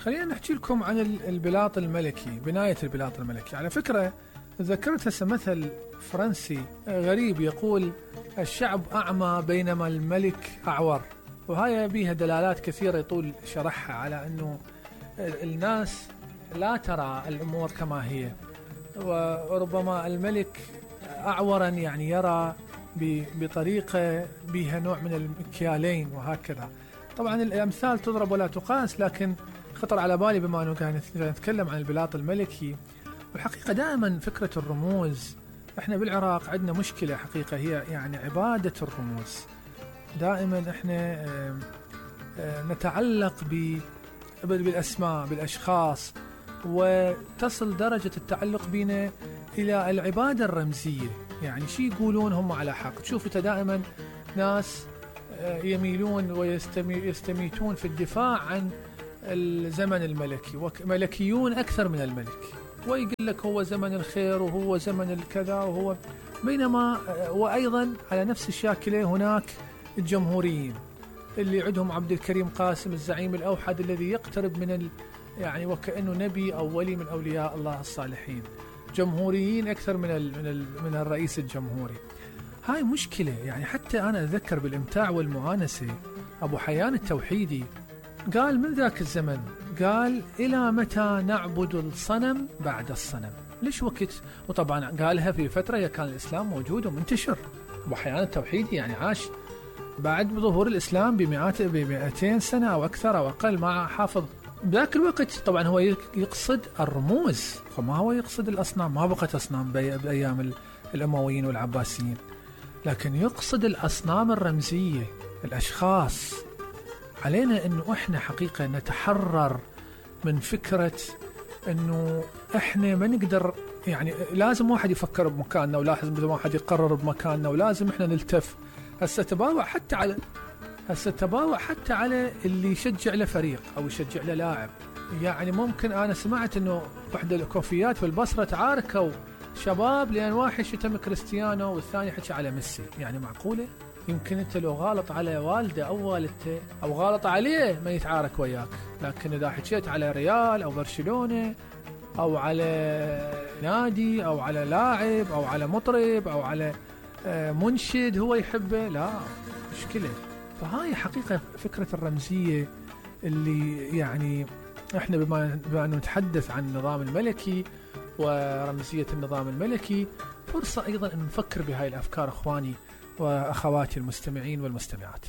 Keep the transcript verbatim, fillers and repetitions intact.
خلينا نحكي لكم عن البلاط الملكي، بناية البلاط الملكي. على فكرة ذكرت هسه مثل فرنسي غريب يقول الشعب أعمى بينما الملك أعور، وهاي بيها دلالات كثيرة يطول شرحها على أنه الناس لا ترى الأمور كما هي، وربما الملك أعورا يعني يرى بطريقة بها نوع من المكيالين وهكذا. طبعا الأمثال تضرب ولا تقاس، لكن خطر على بالي بما أنه كان نتكلم عن البلاط الملكي. والحقيقة دائما فكرة الرموز، احنا بالعراق عندنا مشكلة حقيقة، هي يعني عبادة الرموز. دائما احنا نتعلق بالأسماء بالأشخاص، وتصل درجة التعلق بنا إلى العبادة الرمزية. يعني شي يقولون هم على حق. تشوف دائما ناس يميلون ويستميتون في الدفاع عن الزمن الملكي، وملكيون أكثر من الملك، ويقول لك هو زمن الخير وهو زمن الكذا وهو، بينما وأيضا على نفس الشاكلة هناك الجمهوريين اللي عندهم عبد الكريم قاسم الزعيم الأوحد الذي يقترب من ال يعني وكأنه نبي أو ولي من أولياء الله الصالحين. جمهوريين أكثر من ال من, ال من الرئيس الجمهوري. هاي مشكلة. يعني حتى أنا أتذكر بالإمتاع والمؤانسة أبو حيان التوحيدي قال من ذاك الزمن، قال إلى متى نعبد الصنم بعد الصنم؟ ليش وقت؟ وطبعا قالها في فترة كان الإسلام موجود ومنتشر. أبو حيان التوحيدي يعني عاش بعد ظهور الإسلام بمئات بمئتين سنة أو أكثر أو أقل، مع حافظ بذاك الوقت. طبعا هو يقصد الرموز، فما هو يقصد الأصنام. ما بقت أصنام بأيام الأمويين والعباسيين، لكن يقصد الأصنام الرمزية، الأشخاص. علينا أنه إحنا حقيقة نتحرر من فكرة أنه إحنا ما نقدر، يعني لازم واحد يفكر بمكاننا، ولازم واحد يقرر بمكاننا، ولازم إحنا نلتف. هسه تباوع حتى على هسه تباوع حتى على اللي يشجع له فريق أو يشجع له لاعب. يعني ممكن أنا سمعت أنه واحدة الكوفيات في البصرة تعاركوا شباب لأن واحد شتم كريستيانو والثاني حكى على ميسي. يعني معقولة؟ يمكن أنت لو غالط على والده أو والدته أو غالط عليه ما يتعارك وياك، لكن إذا حكيت على ريال أو برشلونة أو على نادي أو على لاعب أو على مطرب أو على منشد هو يحبه، لا مشكلة. فهاي حقيقة فكرة الرمزية اللي يعني احنا بما, بما أنه نتحدث عن النظام الملكي ورمزية النظام الملكي، فرصة أيضا أن نفكر بهاي الأفكار أخواني وأخواتي المستمعين والمستمعات.